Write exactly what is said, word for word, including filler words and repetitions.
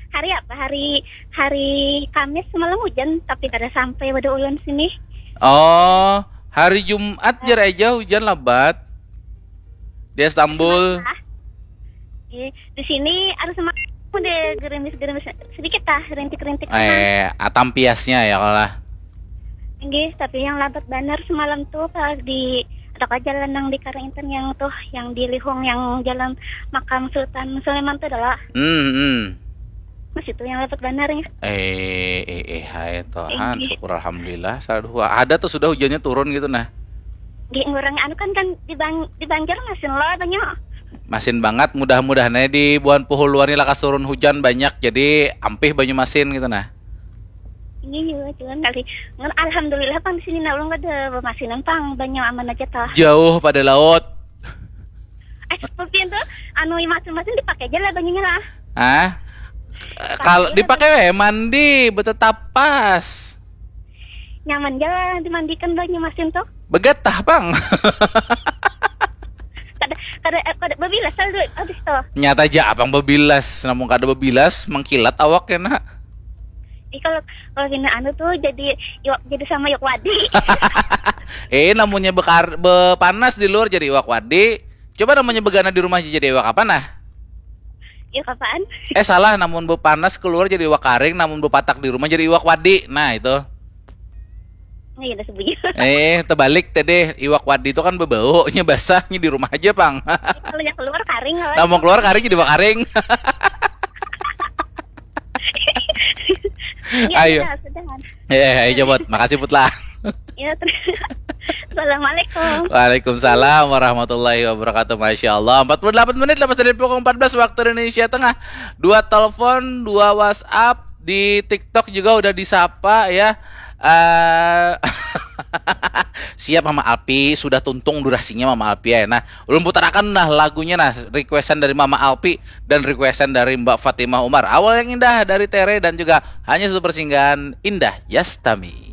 Hari apa? Hari hari Kamis semalam hujan, tapi kada sampai pada ulun sini. Oh, hari Jumat jar aja hujan labat di Istanbul. Ah, di, di sini harus semalam udah gerimis-gerimis sedikit lah, rintik-rintik. Eh, atam piasnya ya kalau lah. Inggih, tapi yang labat banar semalam tuh pas di ada jalan yang di Karaintan yang tuh yang di Lihong yang jalan makam Sultan Sulaiman tuh adalah. Hmm, hmm. Mas itu yang labat banar ya. Eh, eh, eh, hai Tuhan, syukur alhamdulillah. Salah dua. Ada tuh sudah hujannya turun gitu nah. Di orang anu kan kan di Bang di Banjar masin lo banyak. Masin banget, mudah-mudahan aja di bulan Puhuluan ini lakas turun hujan banyak, jadi ampih Banyumasin gitu nah. Ini juga cuman kali. Ngan alhamdulillah pang di sini nah ulun kada bemasinan pang banyak aman aja tah. Jauh pada laut. Eh, tapi itu anu masin-masin dipakai aja lah banyunya lah. Hah? Kalau dipakai weh mandi betetapas. Nyaman aja lah dimandikan banyu masin tuh. Begetah pang. Kada kada eh, kada babilas lah duit habis tuh. Nyata aja abang babilas, namun kada babilas mengkilat awak ya nak. Ih kalau kalau kena anu tuh jadi iwak jadi sama iwak wadi. Eh, namanya bekar bepanas di luar jadi iwak wadi. Coba namanya begana di rumah aja jadi iwak apa nah? Ya kapan? Eh, salah, namun bepanas keluar jadi iwak karing, namun bepatak di rumah jadi iwak wadi. Nah, itu. Nah, ya udah sebutnya. Eh, terbalik tadi, iwak wadi itu kan bebaunya basahnya di rumah aja pang. Kalau yang keluar karing lah. Namun keluar karing jadi iwak karing. Ya, Ayo. Sudah, sudah. Eh, ayo Jabot, makasih Putlah. Ya, terus. Assalamualaikum. Waalaikumsalam warahmatullahi wabarakatuh. Masya Allah, empat puluh delapan menit lepas dari pukul empat belas waktu Indonesia Tengah. Dua telepon, dua WhatsApp, di TikTok juga udah disapa ya. Eh, siap Mama Alpi, sudah tuntung durasinya Mama Alpi ya. Nah, ulun putarakan nah lagunya nah, requestan dari Mama Alpi dan requestan dari Mbak Fatimah Umar. Awal yang indah dari Tere dan juga hanya satu persinggahan indah Yastami.